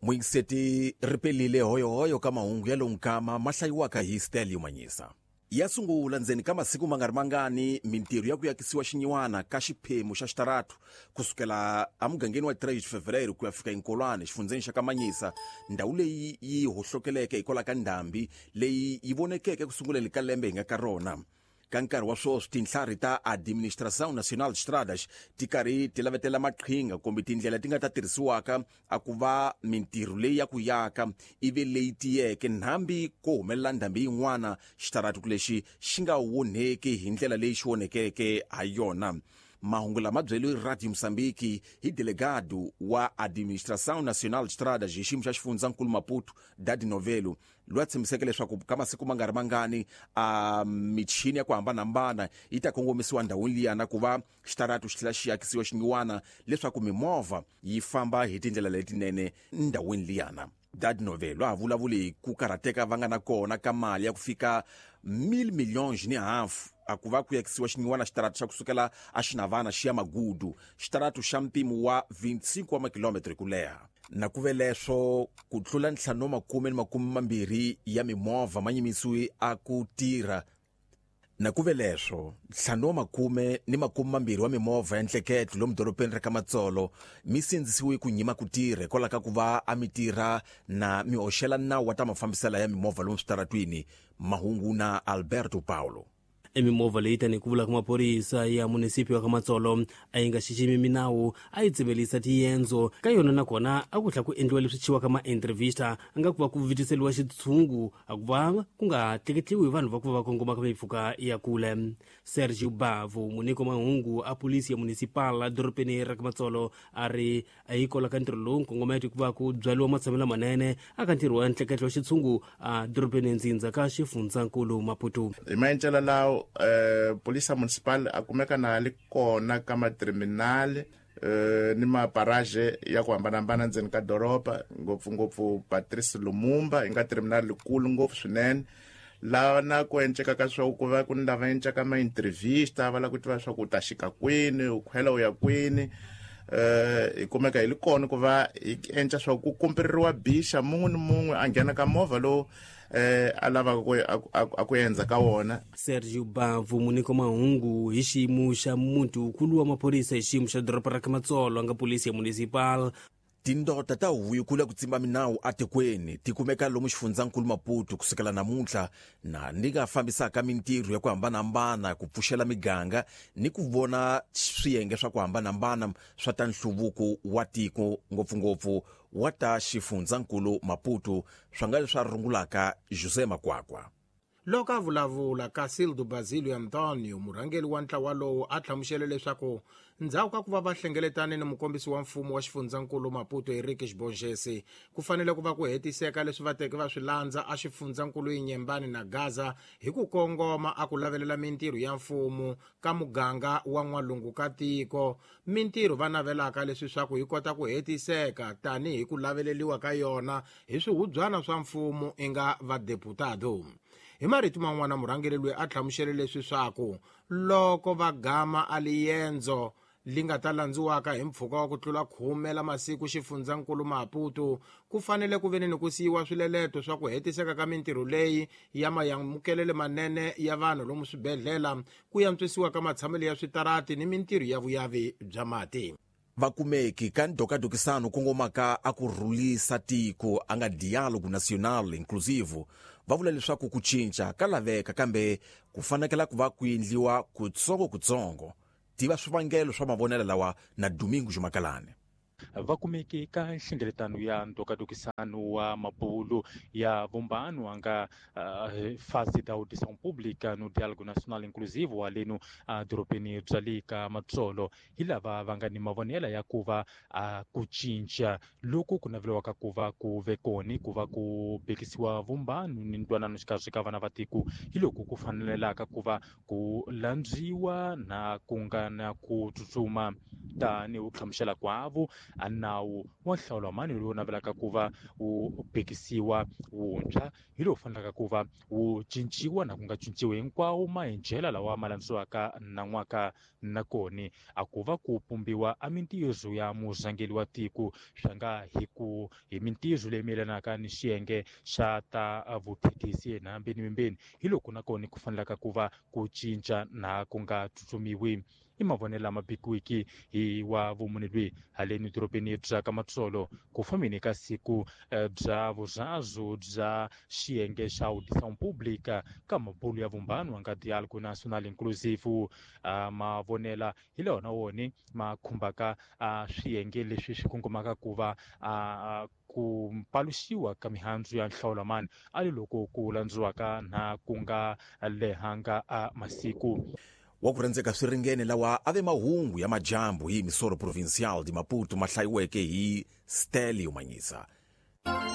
Muyingiseti ri pelile hoyohoyo ka mahungu ya lowu nkama ma hlayiwaka hi Stelio Manyisa. Ya sungula ndzeni ka masiku ma nga ri mangani mintirho ya ku yakisiwa xinyiwana ka xiphemu xa xitaratu kusukela emugangeni wa 3 de Fevereiro ku ya fika eNkolwane xifundzheni xa ka Manyisa, ndhawu leyi yi hohlokeleke hikwalaho ka ndhambi leyi yi vonekeke ku sunguleni ka lembe hi nga ka rona. Ka nkarhi wa swoswi, tintlharhi ta Administração Nacional de Estradas ti karhi ti lavetela maqhinga kumbe tindlela ti nga ta tirhisiwaka a ku va mintirho leyi ya ku yaka ivi leyi tiyeke nhambi ko humelela ndhambi yin'wana xitaratu lexi xi nga wonheki hi ndlela leyi xi wonhekeke ha yona. Mahungu lama byeliwe Radio Moçambique hi delegado wa Administração Nacional de Estradas hi xiyimo xa xifundzankulu Maputo, Dadi Novelo, loyi a tshembiseke leswaku ka masiku ma nga ri mangani a michini ya ku hambanahambana yi ta kongomisiwa ndhawini liyana ku va xitaratu xi tlhela xi akisiwa xinyiwana leswaku mimovha yi famba hi tindlela letinene ndhawini liyana. Dad Novelo a vulavuli hi ku karhateka va nga na kona ka mali ya ku fika mil millions ni hafu a ku va ku yakisiwa xinyiwana xitaratu xa kusukela a Xinavana xi ya Magudu, xitaratu xa mpimo wa 25 wa makilometre ku leha. Na ku ve leswo, ku tlula ntlhanu wa makume ni makume mambirhi ya mimovha ma nyimisiwe a ku tirha. Na ku ve leswo, ntlhanu wa makume ni makume mambirhi wa mimovha ya ntleketlo lomu doropeni ra ka Matsolo mi sindzisiwe ku nyima ku tirha hikwalaho ka ku va a mi tirha na mi hoxela nawu wa ta mafambisela ya mimovha lomu switaratwini. Mahungu na Alberto Paulo. Emimovha leyi tanihi ku vula ka maphorisa ya munisiphi wa ka Matsolo a yi nga xiximi minawu, a yi tsemelisa tiyendzo ka yona, nakona a ku tlhela ku endliwa leswi chiwaka ma-entrevista a nga ku va ku vitiseliwa xitshungu a ku va ku nga tleketliwi vanhu va ku va va kongoma ka mimpfhuka ya kule. Sergio Bavu, muniko mahungu a polisi ya municipal a dorobeni ra ka Matsolo, a ri a yi kola ka ntirho lowu nkongometo ku va ku byariwa matshamelo lamanene aka ntirho wa ntleketlo wa xitshungu a dorobeni ndzindza ka xifundzankulu Maputo. Hi maendlelo lawo, polisa municipal a kumeka na li kona ka materminal ni maparaje ya ku hambanahambana ndzeni ka doroba, ngopfungopfu Patrice Lumumba yi nga terminal likulu ngopfu swinene, laha na ku enceka ka swa ku va ku ni lava encaka ma-entrevista va lava ku tiva swa ku u ta xika kwini, u khwela u ya kwini. Hi kumeka hi li kona ku va hi enca swa ku kumperiwa bixa mun'we ni mun'we a nghena ka movha lowu a lavaka ku a ku endza ka wona. Sergio Bavu, muniko mahungu hi xiyimo xa muti wukulu wa maphorisa hi xiyimo xa doroba ra ka Matsolo a nga polisi ya municipal. Tindota ta huvo yikulu ya ku tsimba minawu atikweni ti kumeka lomu xifundzankulu Maputo kusukela namuntlha na ni nga fambisaka mintirho ya ku hambanahambana ku pfuxela miganga ni ku vona swiyenge swa ku hambanahambana swa ta nhluvuko wa tiko ngopfungopfu wa ta xifundzankulu Maputo swa nga leswi a rungulaka José Makwakwa. Loko a vulavula, Cacildo Basílio António, murhangeri wa ntlawa lowu, a hlamusele leswaku ndzhaku ka ku va va hlengeletane ni mukombisi wa mfumo wa xifundzankulu Maputo Henriques Borges, ku fanele ku va ku hetiseka leswi va teke va swi landza a xifundzankulu Inhambane na Gaza hi ku kongoma a ku lavelela mintirho ya mfumo ka muganga wa n'walungu ka tiko, mintirho va navelaka leswi swa ku yi kota ku hetiseka tanihi ku laveleliwa ka yona hi swihubyana swa mfumo inga vadeputado. Hi marito man'wana, murhangeri loyi a hlamusele leswi swaku loko va gama a liyendzo li nga ta landziwaka hi mpfhuka wa ku tlula khume la masiku xifundzankulu Maputo, ku fanele ku veni ni ku siyiwa swileleto swa ku hetiseka ka mintirho leyi ya mayamukelele manene ya vanhu lomu swibedhlela, ku yantswisiwa ka matshamelo ya switarati ni mintirho ya vuyavi bya mati. Vakumeki ka ndokadokisano kongomaka a ku rhulisa tiko a nga Diálogo Nacional Inclusivo va vula leswaku ku cinca ka laveka kambe ku fanekela ku va ku endliwa kutsongo-kutsongo. Tiva swivangelo swa mavonelo lawa na Domingo Jumakalane. Vakumeki ka nhlengeletano ya ndokadokisano wa mabulu ya vumbano a nga fase da audição pública no Diálogo Nacional Inclusivo wa leno a dorobeni bya le ka Matsolo, hi lava va nga ni mavonelo ya ku va a ku cinca loku ku naveliwaka ku va ku ve koni ku va ku bekisiwa vumbano ni ntwanano xikarhi ka vana va tiko, hi loko ku fanelelaka ku va ku landziwa na ku nga na ku tsutsuma. Tanihi ku hlamusela kwavo a Nawu wa nhlawulo wa mani lowu navelaka ku va wu bekisiwa wuntshwa hi lowu fanelaka ku va wu cinciwa na ku nga cinciwi hinkwawo mahinjela lawa ma landziwaka nan'waka. Nakoni a ku va ku pumbiwa a mintirho ya murhangeri wa tiko swa nga hi ku hi mintirho leyi mayelanaka ni xiyenge xa ta vuthethisi enhambeni mimbeni hi loko nakoni ku fanelaka ku va ku cinca na ku nga tsutsumiwi. I mavonelo lama bikiwiki hi wa vumune lwi haleni dorobeni bya ka Matsolo ku fambeni ka siku bya vurazu bya xiyenge xa audição pública ka mabulu ya vumbano wa nga diálogo nacional inclusivo. Mavonela hi lona woni ma khumbaka swiyenge leswi swi kongomaka ku va ku paluxiwa ka mihandzu ya nhlawulo mani a li loko ku landziwaka na ku nga lehanga a masiku. Wa ku rhendzeka swi ringene lawa a ve mahungu ya majambu hi Misoro Provincial de Maputo ma hlayiweke hi Stelio Manyisa.